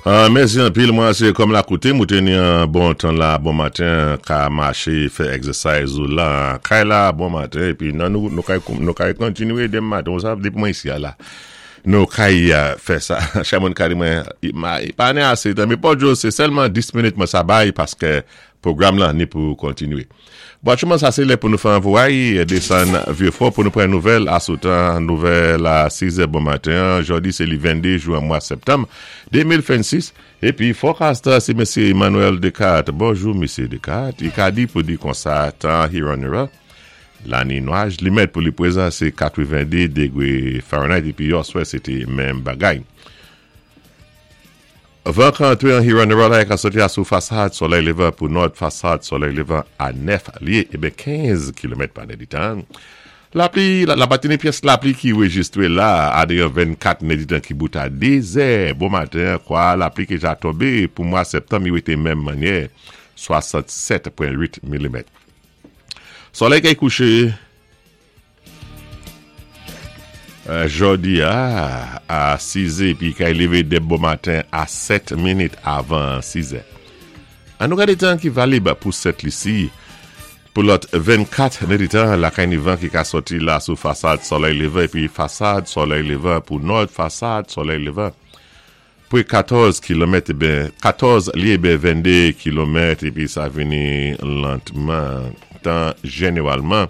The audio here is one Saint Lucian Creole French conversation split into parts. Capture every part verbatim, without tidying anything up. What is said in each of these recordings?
Uh, mèsi anpil, mwen sé kòm la koutim, ou té ni an bon tan la, bon maten, ka maché, fè exercise ou la, kay la, bon maten, épi nan nou, nou kay, nou kay kontinwé denmen maten, ou sav, dépi mwen isi a la. Nou kay uh, fè sa, chak moun ka di mwen, ma, pa ni asé tan, mé pa djou, sé sèlman dis minit mwen sa bay, paské pwogram lan ni pou kontinwé. Bon, aktyèlman sa sé lè pou nou fè an vway, désann Vieux-Fort pou nou pran nouvèl asou tan, nouvèl a sis è bon maten, jòdi sé li venndé jwen mwa septanm de mil vennsis, épi forecaster sé Mesye Emmanuel Descartes. Bonjou, Mesye Descartes. I ka di pou di konsa tan Huron-Huron, la ni nwaj, limit pou li pwézan sé katwenndé dégwé Fahrenheit, épi yèswa sé té menm bagay. Van ka antré an Huron-Huron la, ka soti asou fasad solèy lévan pou nò fasad solèy lévan a nèf lyé, ében kenz kilomèt pa nèditan. Lapli, la, la pa té ni pyès lapli ki réjistré la, a déyò vennkat nèditan ki bout a dé zè bon maten, kwa lapli ki ja tonbé pou mwa septanm, i wété menm mannyè, swasannsèt pwen uit milimèt. Solèy kay kouché, Euh, jòdi a, a sis è, épi kay lévé dé bon maten a sèt minit avan sis è. An nou gadé tan ki valib pou Sent Lisi, pou lòt vennkat nèditan, la kay ni van ki ka soti la sou fasad solèy lévan, épi fasad solèy lévan pou nò fasad solèy lévan. Pou katòz kilomèt, ben, katòz lyé ben venndé kilomèt, épi sa vini lantman, tan jénéwalman.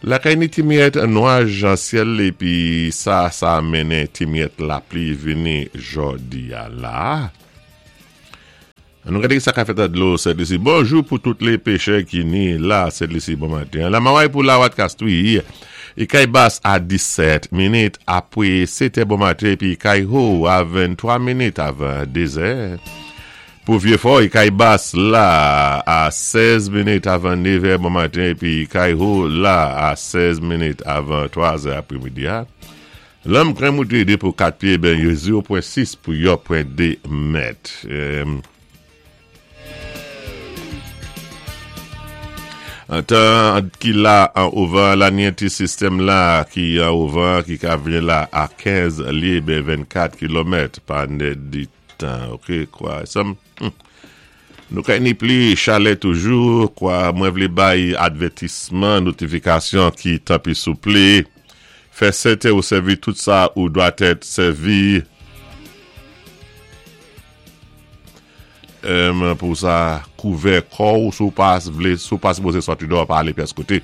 La kay ni ti miyèt nwaj an syèl épi sa sa mennen ti miyèt lapli vini jòdi a la. An nou gadé sa ka fèt a dlo Sent Lisi. Bonjou pou tout lé péchè ki ni la Sent Lisi bon maten. Lamaway pou la Wat Kastwi. I kay bas a disèt minit apwé sèt bon maten épi kay ho a venntwa minit avan dé zè. Pou Vieux-Fort, i kay bas la a sèz minit avan nèv bon maten épi kay ho la a sèz minit avan twa zè apwémidi a. Lanm kren mouté dé pou kat pyé ben zewo pwen sis pou yon pwen dé mèt. Euh, Tan ki la an ovan, la ni ti sistèm la ki an ovan ki ka vini la a kenz lyé ben vennkat kilomèt pa nèditan. Ok, kwa, sam, hmm. Nou kay ni pli chalè toujou, kwa mwen vlé bay advètisman, notifikasyon ki tanpwi souplé. Fè sèten ou sèvi tout sa ou dwatèt sèvi. Um, pou sa kouvè kò ou sou pa vlé, sou pa sipozé sòti dò pa alé pyès koté.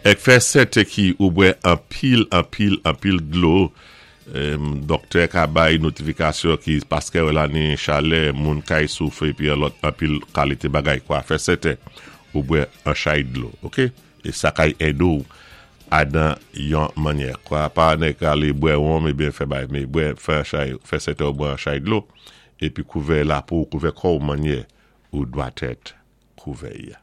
Èk fè sèten ki ou bwè anpil, anpil, anpil dlo. Um, doktè ka bay notifikasyon ki paské la ni chalè, moun kay soufri épi lòt anpil kalité bagay kwa. Fè sèten ou bwè an chay dlo, ok? É sa kay édé ou adan yon mannyè. Kwa pa nèk alé bwè wonm ébyen fè bay, mé bwè fè chay, fè sèten ou bwè an chay dlo épi kouvè lapo, kouvè kò ou mannyè ou dwatèt kouvè ya.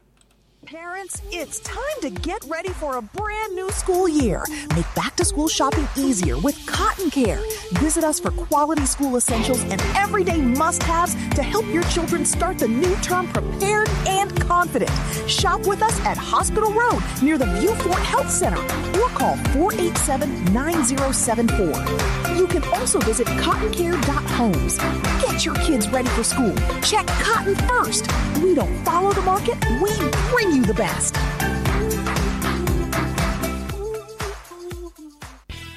Parents, it's time to get ready for a brand new school year. Make back to school shopping easier with Cotton Care. Visit us for quality school essentials and everyday must haves to help your children start the new term prepared and confident. Shop with us at Hospital Road near the Vieux Fort Health Center or call four eight seven, nine zero seven four. You can also visit cottoncare dot homes. Get your kids ready for school. Check cotton first. We don't follow the market, we bring you the best.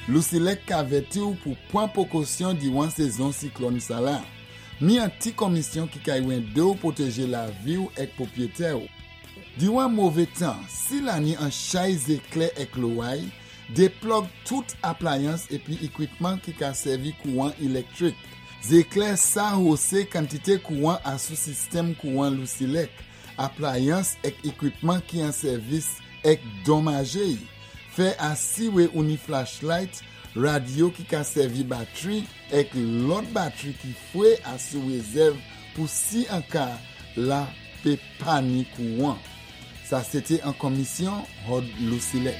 Lusilek ka avèti ou pou pwan pwékosyon diwan sézon siklòn sa la. Mi an ti komisyon ki kay wende ou pwotéjé lavi ou èk pwopwété ou. Diwan mové tan, si la ni an chay zéklè èk loway, déplòg tout aplayans épi ékwipman ki ka sèvi kouwan élektwik. Zéklè sa hosé kantité kouwan asou sistèm kouwan Lusilek, aplayans èk ékwipman ki an sèvis èk donmajé. Fè asiwé ou ni flashlight, radyo ki ka sèvi batwi èk lòt batwi ki fwé asou rézèv pou si an ka la pé pa ni kouwan. Sa sé té an komisyon Hod Lusilek.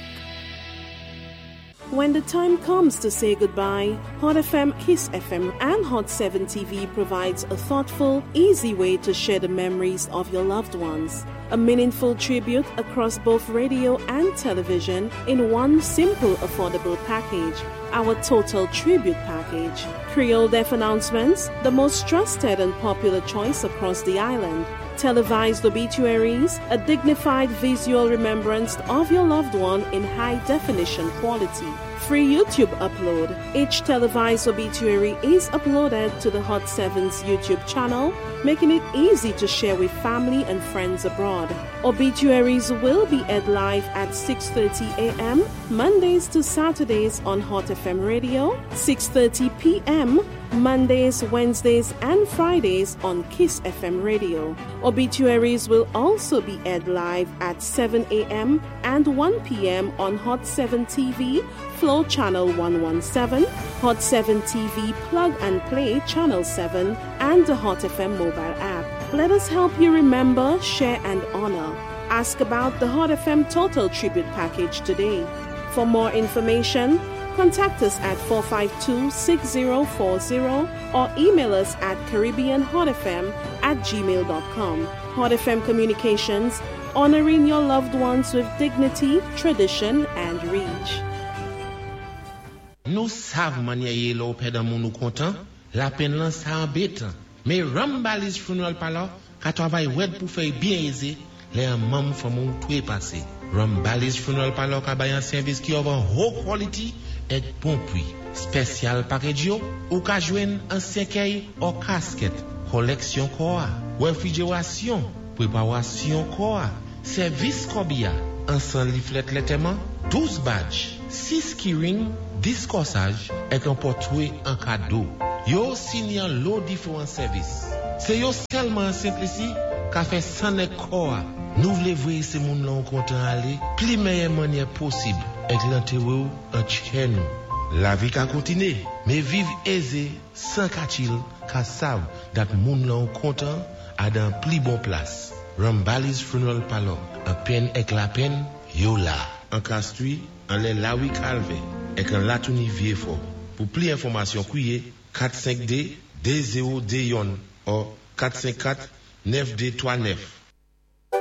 When the time comes to say goodbye, Hot F M, Kiss F M, and Hot seven T V provides a thoughtful, easy way to share the memories of your loved ones. A meaningful tribute across both radio and television in one simple, affordable package. Our Total Tribute Package. Creole Death Announcements, the most trusted and popular choice across the island. Televised obituaries, a dignified visual remembrance of your loved one in high definition quality. Free YouTube upload. Each televised obituary is uploaded to the Hot seven's YouTube channel, making it easy to share with family and friends abroad. Obituaries will be aired live at six thirty a m. Mondays to Saturdays on Hot F M Radio, six thirty p m. Mondays, Wednesdays, and Fridays on Kiss F M Radio. Obituaries will also be aired live at seven a m and one p m on Hot seven T V, Flow Channel one one seven, Hot seven T V Plug and Play Channel seven, and the Hot F M mobile app. Let us help you remember, share, and honor. Ask about the Hot F M Total Tribute Package today. For more information, contact us at four five two, six zero four zero or email us at caribbeanhotfm at gmail dot com. Hot F M Communications, honoring your loved ones with dignity, tradition, and reach. Nou sav mannyè yé lè ou pèd an moun ou kontan, lapenn lan sa anbétan. Mé Rambali's Funeral Parlor ka twavay wèd pou fè byen ézé lè an manm fanmi ou twé pasé. Rambali's Funeral Parlor ka bay an sèvis ki of an ho quality èk bon pwi. Special package yo, ou ka jwenn an sèkèy ou kasket, koleksyon kò a, wefrijerasyon, pwépawasyon kò a, sèvis kòbiya, an san leaflet lantèman, douz badge, sis keyring, dis kòsaj, èk an pòtwé an kado. Yo sini an lo diféwan sèvis. Sé yo sèlman an Sent Lisi ka fè sann èk kò a. Nou vlé voyé sé moun lan ou kontan alé, pli méyè mannyè posib, èk lantéwé ou an tchè nou. Lavi ka kontiné, mé viv ézé, san katchil, ka sav dat moun lan ou kontan a dan pli bon plas. Rambali's Funeral Parlor, an penn èk lapenn, yo la. An Castries, anlè Lawi Kalvè, èk an Latouni Vyéfò. Pou pli enfòmasyon kwiyé kat senk de, de zewo de youn ou kat senk kat, nèf de twa nèf.